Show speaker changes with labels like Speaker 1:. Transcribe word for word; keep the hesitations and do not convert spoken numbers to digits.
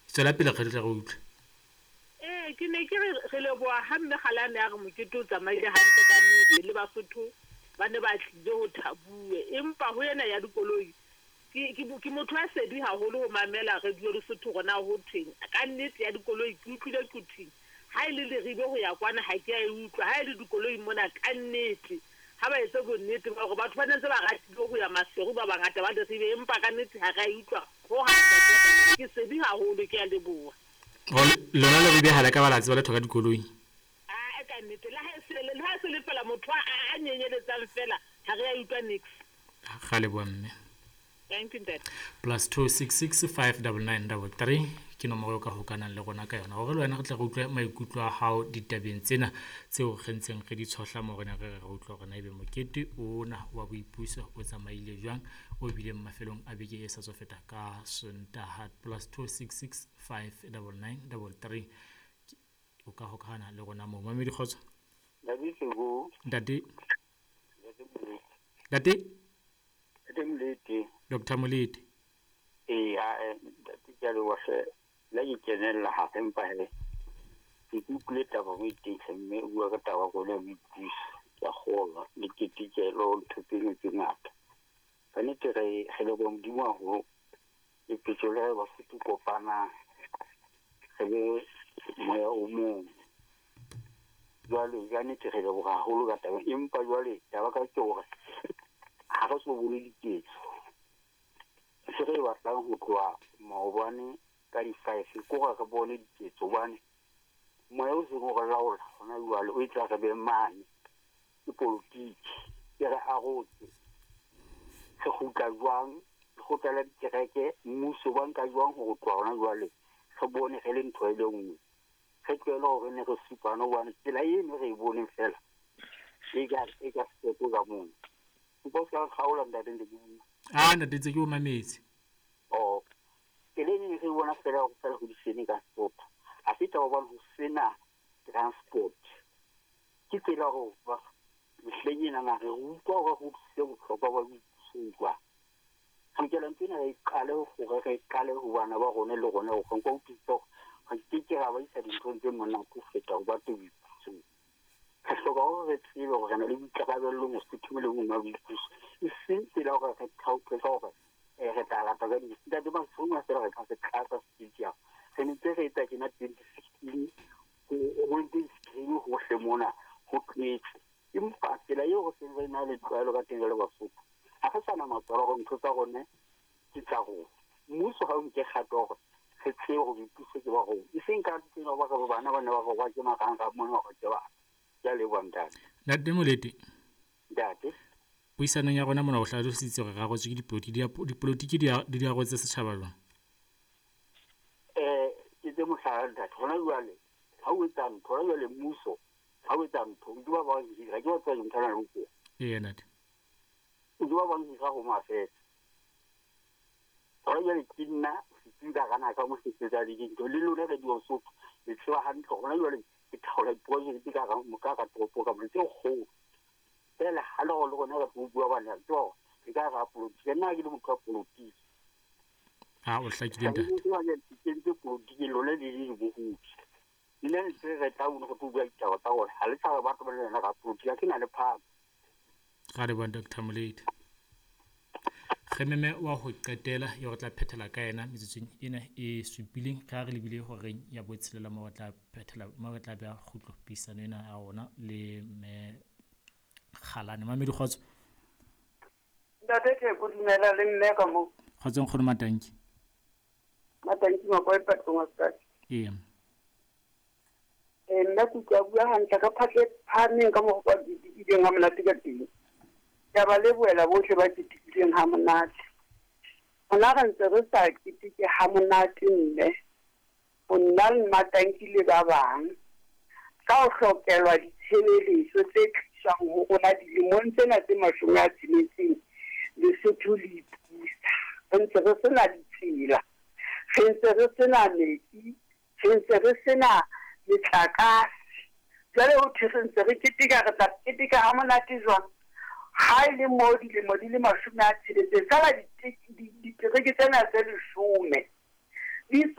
Speaker 1: Tswela pele re tle re utlwe.
Speaker 2: Ee, ke ne ke re re leboha ha mme Kgalane a re mokete o tsamaile hantle ka nnete le Basotho ba ne ba tlile ho thabuwe. Empa ho ena ya dikoloi ke ke ke motho a sedi haholo ho mamela radio Lesotho hore na ho thweng. Ka nnete ya dikoloi ke utlwile Quthing. Ha e le Leribe ho ya kwana ha ke a e utlwa. Ha e le dikoloi mona ka nnete ha ba etse bonnete ba hore batho ba ne ntse ba ratile ho ya Maseru ba bangata ba Leribe, empa ka nnete ha re a e utlwa hohang. Ke sedi haholo, ke a leboha.
Speaker 1: Lona Leribe ha le ka ba la tseba letho ka dikoloi?
Speaker 2: Ah, ka nnete le ha e se le ha e se le fela motho a a nyenyeletsang fela ha re a utlwa nix.
Speaker 1: Ga leboha mme.
Speaker 2: Thank you, ntate.
Speaker 1: Plus two six six five double nine double three ke nomoro eo ka hokanang le rona ka yona hore le wena re tle re utlwe maikutlo a hao ditabeng tsena tseo re ntseng re di tshohla mo re ne re re re utlwe hore na ebe mokete ona wa boipuso o tsamaile jwang o bileng mafelong a beke e sa tswa feta ka Sontaha. Plus two six six five double nine double three o ka hokahana le rona moo. Mamedi kgotso.
Speaker 3: Ntate Seko.
Speaker 1: Ntate.
Speaker 3: Ntate Molete.
Speaker 1: Ntate.
Speaker 3: Ntate Molete.
Speaker 1: Doctor Molete.
Speaker 3: Ee, a ntate ke a leboha hle. La ke kenella hape empa he ke utlwile taba mo teng mme o bua ka taba ya boipuso. Ke a kgolwa le ketekelo ntho tse dingwe tse ngata. Ka nnete re re leboha Modimo haholo lepetjo le re Basotho kopanang re be moya o mong. Jwale ka nnete re leboha haholo ka taba, empa jwale taba ka ke hore ha re so bone diketso. Se re batlang ho tloha maobane ka di-five ke hore re bone diketso hobane moya o seng o re laola hona jwale o etsa re be mane ke politiki e re arotse. Re kgutla jwang, lekgotla la dikereke, mmuso ba nka jwang ho tloha hona jwale re bone re le ntho e le nngwe. Re tlohele hore ne re supane hobane tsela eno re e boneng fela e ka e ka step ka mono. Nka o ska kgaola ntate ntse ke bua.
Speaker 1: Ah, ntate ntse ke o mametse.
Speaker 3: Oh, tsela eno re bona fela hore fela ho disene ka stop. Ha se taba hobane ho sena transport. Ke tsela hore ba mehleng ena na re utlwa hore ho utlwisise bohlokwa ba boipuso jwang. Re lokela ntho ena re qale hore re qale ho bana ba rona le rona hore nka utlwisisa hore re ke ke ra ba isa dinthong tse monate ho feta ho ba boipusong. Re hloka hore re tsebe hore re na le boikarabello Mosotho le mong wa boipuso. E seng tsela hore re thaope ka hore re tla lata ka di. Ntate Maseru a fela re ka se tlatsa stadium. Re ne ntse re etsa tjena twenty sixteen ho ntse screen hohle mona ho tletse. Empa tsela eo re seng re na le tlwaelo ka teng re le Basotho ha re sa na matswalo hore ntho tsa rona ke tsa rona. Mmuso ha o nke kgato hore re tsebe hore boipuso ke ba rona. E seng ka tsela ba re bana ba ne ba re ke marangrang mona hore ke bana. Ke a leboha ntate.
Speaker 1: Ntate Molete.
Speaker 3: Ntate.
Speaker 1: Puisanong ya rona mona o hlalositse hore re arotswe ke dipolotiki, dipolotiki di di arotse setjhaba jwang?
Speaker 3: Eh, ke tse mohlala ntate. Hona jwale ha o etsa ntho, hona jwale mmuso ha o etsa ntho, o ba ba hira, ke ba tswa ntho na le ho.
Speaker 1: Ee, ntate.
Speaker 3: O ba ba hira ho mafetsa. Hona jwale ke nna setsi ka gana ka mo setsa le dintho le lona re di Sotho le tseba hantle hona jwale ke thaola project ka ga ka ka toropo ka mo tse kgolo. Fela ha le le rona re bua bana tso re ka ra politiki nna ke le motho wa politiki.
Speaker 1: Ah, o hlakile ntate.
Speaker 3: Ke ntse politiki lona le le bohodi. Nna ntse re tla una go bua ditaba tsa hore ha le tsa batho ba lena ga politiki ke na le phaka.
Speaker 1: Ga re bona Doctor Molete. Re meme wa ho qetela yo re tla phethela ka yena metsotsong ena e supileng ka re lebile horeng ya botshelela mo re tla phethela mo re tla beha kgutlo puisano ena ya rona le mme Kgalane. Mamedi kgotso.
Speaker 4: Ntate Theko, dumela le mme ka moo.
Speaker 1: Kgotso nkgono Matanki.
Speaker 4: Matanki Makoe Patlong wa
Speaker 1: Ee.
Speaker 4: Eh, nna ke utlwa bua hantle ka phatla e phahameng ka mokgwa o ketekileng ha monate ka teng. Ke a ba lebohela bohle ba ketekileng ha monate. Rona re ntse re sa keteke ha monate mme. Ho nna le Matanki le ba bang. Ka ho hlokelwa ditshebeletso tse tliswang ho rona dilemong tsena tse mashome a tsheletseng Lesotho le ipusa. Re ntse re sena ditsela, re ntse re sena metsi, re ntse re sena metlakase. Jwale ho thwe re ntse re keteka, re tla keteka ha monate jwang? Ha e le moo dilemo di le mashome a tsheletseng, feela ditereke tsena tse leshome Di